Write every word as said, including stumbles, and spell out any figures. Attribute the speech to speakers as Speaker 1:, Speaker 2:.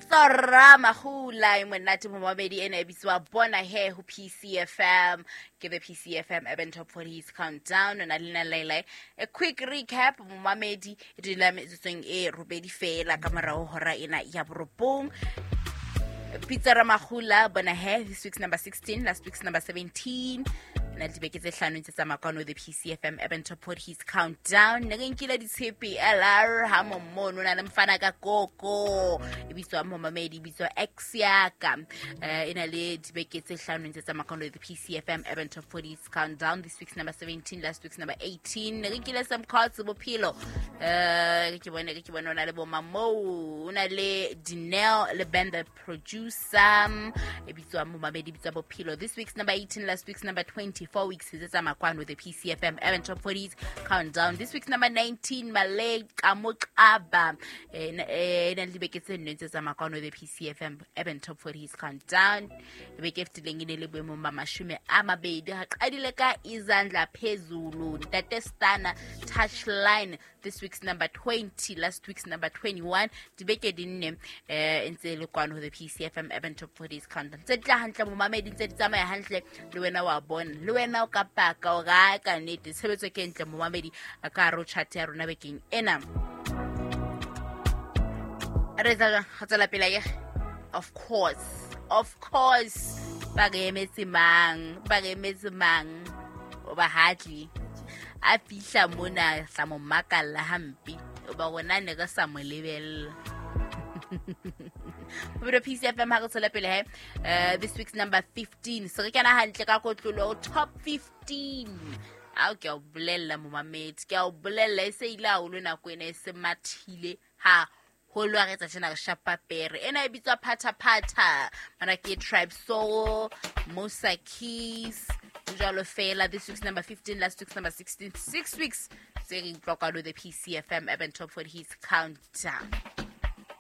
Speaker 1: Pitso Ramahula e monate momamedi, ena e bitswa Bona He ho P C F M. Ke the P C F M Urban Top forty Countdown na lena Laila. A quick recap, momamedi, e dula metsotsong e robedi fela ka morao hora ena ya borobong. Pitso Ramahula, Bona He, this week's number sixteen, last week's number seventeen. Na le dibeke tse hlano ntse tsamaya kwano the P C F M Urban Top forty Countdown. Ne re nkile ditshepe L R ha momono na le mfana ka koko e bitswa, momamedi, e bitswa Ex Yaka. Eh, e na le dibeke tse hlano ntse tsamaya kwano the P C F M Urban Top forty Countdown. This week's number seventeen, last week's number eighteen. Ne re nkile some cards bophelo. Eh, ke bone ke bone o na le bo Mamo, o na le Dineo le Ben the producer, e bitswa, momamedi, e bitswa Bophelo. This week's number eighteen, last week's number twenty. Four weeks tse tsamaya kwano the P C F M Urban Top forties Countdown. This week's number nineteen, Malay Kamoqaba, e na le dibeke tse nne tse tsamaya kwano the P C F M Urban Top forties Countdown. Beke e fetileng e ne le boemong ba mashome a mabedi. Ha qadile ka Izandla Phezulu, Ntate Stana, Touchline. This week's number twenty, last week's number twenty-one. Dibeke di nne eh ntse e le kwano ho the P C F M Urban Top forties Countdown. Tse di tla hantle, momamedi, ntse di tsamaya hantle. Le wena wa bona, le wena o ka paka o ga ka nnete tshebetso ke ntle, momamedi, a ka hare ho chat ya rona bekeng ena. Re etsa jwang? Re tswela pele akere? Of course, of course. Ba re emetse mang? Ba re emetse mang? O ba hatle a fihla mona, tla mo makalla hampe o ba rona ne re sa mo lebella. Bophelo P C F M, ha re tswela pele he. uh, this week's number fifteen, se re kena hantle ka kotlolo top fifteen. Ao, ke a o bolella, momamedi, ke a o bolella, e se ile haholo nako ena, e se mathile haholo. Ha re etsa tjena, re shapa pere ena e bitswa Phatha Phatha. Mana ke Tribe Soul, Musa Keys, jwalo fela. This week's number fifteen, last week's number sixteen. Six weeks tse re utlwa kwano the P C F M Urban Top forty Hits Countdown.